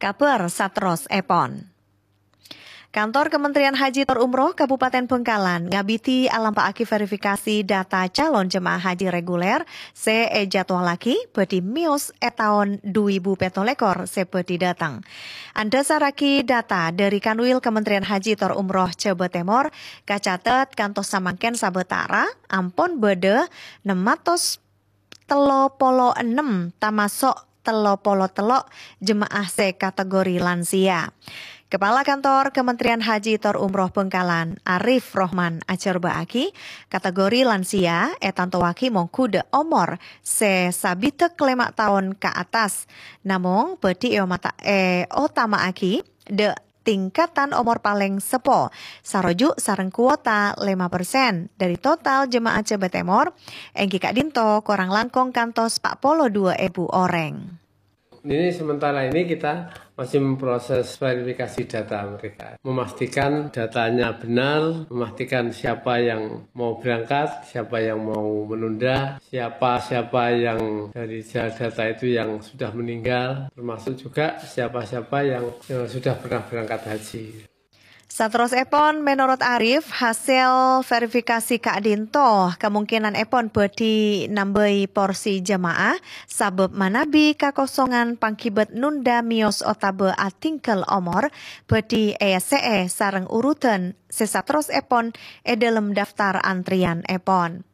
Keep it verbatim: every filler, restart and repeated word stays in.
Kabhâr saterrossèpon. Kantor Kementerian Haji tor Umroh Kabupaten Bangkalan ngabidhi alampa'aghi verifikasi data calon jemaah haji reguler sè èjadwallaghi bhâdhi mèyos è taon dhu èbu pètto lèkor sè bhâdhi dâteng. Andhâsarraghi data dhâri Kanwil Kementerian Haji tor Umroh Jhâbâ Tèmor, kacatet kantos samangkèn sabâtara ampon bâdâ nem atos tello polo ennem, tamaso' tello polo tello' jemaah sè kategori lansia. Kepala Kantor Kementerian Haji tor Umroh Bangkalan, Arif Rohman, ajhârbâ'âghi, kategori lansia ètantowaghi mongghu dâ' omor sè sabidhâk lèma' taon ka attas. Namong, bhâdhi èomata-, èotama'aghi dâ' tingkatan omor palèng seppo, saroju' sareng kuota lèma persen dhâri total jemaah Jhâbâ Tèmor, èngghi ka'dinto korang langkong kantos pa' polo dua èbu orèng. Ini sementara ini kita masih memproses verifikasi data mereka, memastikan datanya benar, memastikan siapa yang mau berangkat, siapa yang mau menunda, siapa-siapa yang dari data itu yang sudah meninggal, termasuk juga siapa-siapa yang, eh, sudah pernah berangkat haji. Saterrossèpon, menorot Arif, hasèl verifikasi ka'dinto kamongkenanèpon bhâdhi nambâi porsi jemaah, sabâb manabi kakosongan pangghibât nunda mèyos otabâ atinggal omor bhâdhi èessè'è sareng urutan sè saterrossèpon è dhâlem daftar antriyanèpon.